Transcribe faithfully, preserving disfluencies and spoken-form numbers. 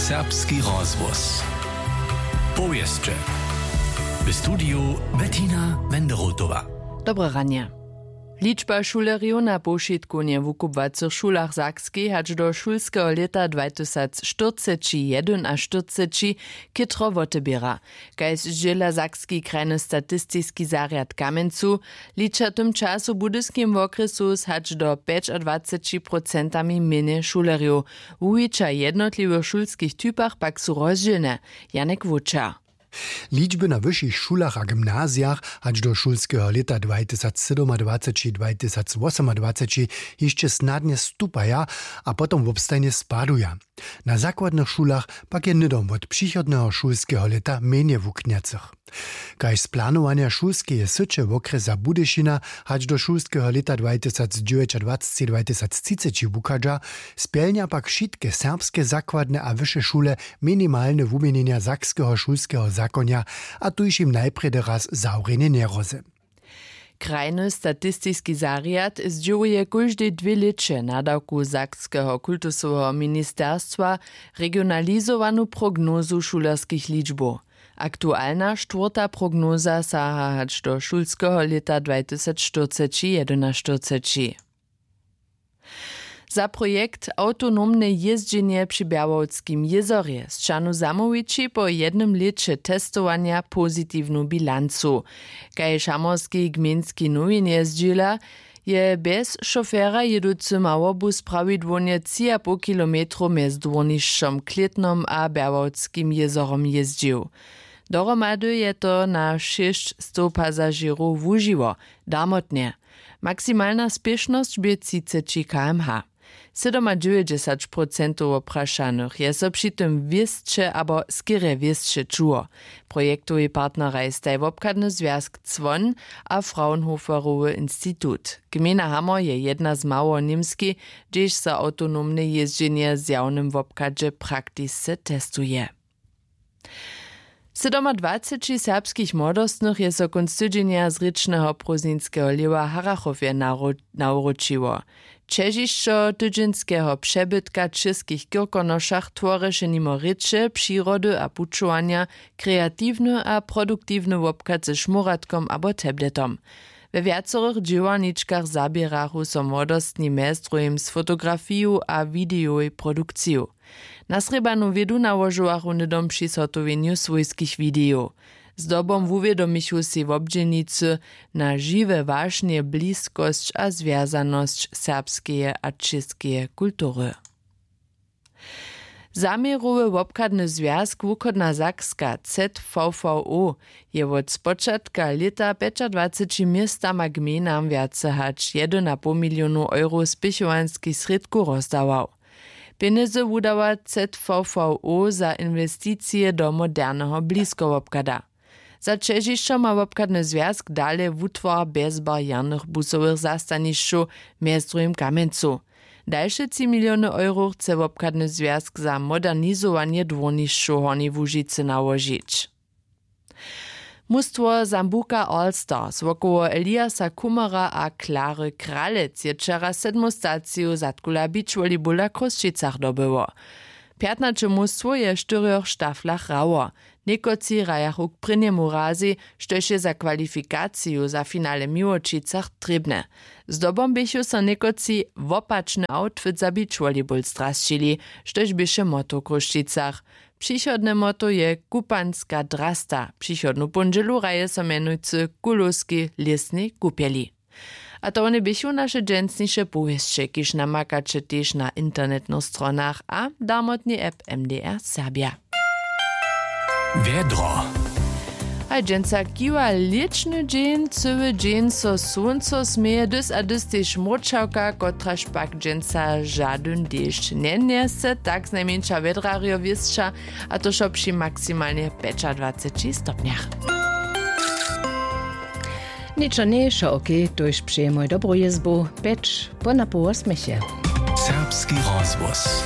Serbski rozhłos. Powěsće. W studiju Bettina Wenderotowa. Dobre ranje. Ličba šulerjow na powšitkownje w wukubłacych šulach w Sakskej hač do šulskeho lěta dwajtysacštyrceći jedynaštyrceći chětro woteběra. Kaž zdźěla sakski krajny statistiski zarjad w Kamjencu, liča w tym času w Budyskim wokrjesu z hač do pjećadwaceći procentami mjenje šulerjow. Wuwića w jednotliwych šulskich typach pak su rozdźělne. Janek Wóčer. Ličby na wyšich šulach a gymnazijach hač do šulskeho lěta dwajtysacsydomadwaceći dwajtysacwosomadwaceći hišće snadnje stupaja a potom wobstajnje spaduja. Na zakładnych šulach pak je hnydom wot přichodneho šulskeho lěta mjenje wuknjacych. Kaž z planowanja šulskeje syće wokrjesa Budyšina hač do šulskeho lěta dwajtysacdźewjećadwaceći dwajtysactřiceći wuchadźa, spjelnja pak wšitke serbske zakładne a wyše šule minimalne wuměnjenja sakskeho šulskeho zakonja a tuž jim najprjedy raz zawrjenje njerozy. Krajny statistiski zarjad zdźěłuje kóždej dwě lěće nadawku sakskeho kultusoweho ministerstwa regionalizowanu prognozu šulerskich ličbow. Aktualna štwórta prognoza saha hač do šulskeho lěta dwajtysacštyrceći jedynaštyrceći. Za projekt Awtonomne jězdźenje při Bjerwowskim jězorje sćahnu zamołwići po jednym lěće testowanja pozitiwnu bilancu. Kaž hamorski gmejnski nowinje zdźěla, je bjez šofera jěducy małobus prawidłownje tři a poł kilometrow mjez dwórnišćom Klětnom a Bjerwowskim jězorom jězdźił. Dohromady je to na šěsćstow pasažěrow wužiło, darmotnje. Maksimalna spěšnosć bě třiceći kmh. Sydomadźewjećdźesać procentow woprašanych je so při tym wěsće abo skerje wěsće čuło. Projektowi partneraj staj wobchadny zwjazk Cwon a Fraunhoferowy institut. Gmejna Hamor je jedna z mało w Němskej, hdźež so awtonomne jězdźenje w zjawnym wobchadźe praktisce testuje. Sydomadwaceći serbskich młodostnych je so kónc tydźenja z rěčneho prózdninskeho lěhwa w Harachowje nawróčiło. Ćežišćo tydźenskeho přebytka w Českich Kirkonošach tworješe nimo rěče, přirody a pućowanja kreatiwny a produktiwny wobchad ze šmóratkom abo tabletom. We wjacorych dźěłarničkach zaběrachu so młodostni mjez druhim z fotografiju a widejowej produkciju. Nasrěbanu wědu nałožowachu hnydom při zhotowjenju swójskich widejow. Zdobom wuwědomichu sej wobdźělnicy na žiwe wašnje, bliskosć a zwjazanosć serbskeje a čěskeje kultury. Zaměrowy wobchadny zwjazk Wuchodna Sakska Z V V O je wot spočatka lěta pjećadwaceći městama gmejnam wjace hač jedyn a poł milionow euro spěchowanskich srědkow rozdawał. Pjenjezy wudawa Z V V O za inwesticije do moderneho bliskowobchada. Za ćežišćo ma wobchadny zwjazk dale wutwar bjezbarjernych busowych zastanišćow, mjez druhim w Kamjencu. Dalše tři miliony euro chce wobchadny zwjazk za modernizowanje dwórnišćow w Hornjej Łužicy nałožić. Mustwo Sambuca All Stars wokoło Eliasa Kumara a Klary Kralec je wčera sedmu staciju zadkula beachvolleyballa w Chrósćicach dobyło. Pjatnaće mustwow je w štyrjoch štaflach hrało. Někotři hrajachu k prěnjemu razej, štož je za kwalifikaciju za finale w Miłočicach trěbne. Zdobom běchu so někotři wopačny outfit za beachvolleyball zdrasćili, štož běše motto w Chrósćicach. Přichodne motto je Kupanska drasta. Přichodnu póndźelu hraje so mjenujcy w Kulowskej lěsnej kupjeli. A to wone běchu naše dźensniše powěsće, kiž namakaće tež na internetnych stronach a w darmotnej app M D R Serbja. Wjedro. Haj, dźensa kiwa lěćny dźeń, cyły dźeń so słónco směje, dys a dys tež mróčawka, kotraž pak dźensa žadyn dešć njenjese, tak znajmjeńša wjedrarjo wěsća, a to wšo při maksimalnje pjećadwaceći stopnjach. Ničo njejšo, okej, tójž přejemoj dobru jězbu, pjeć po napoł wosmjeche. Serbski rozhłos.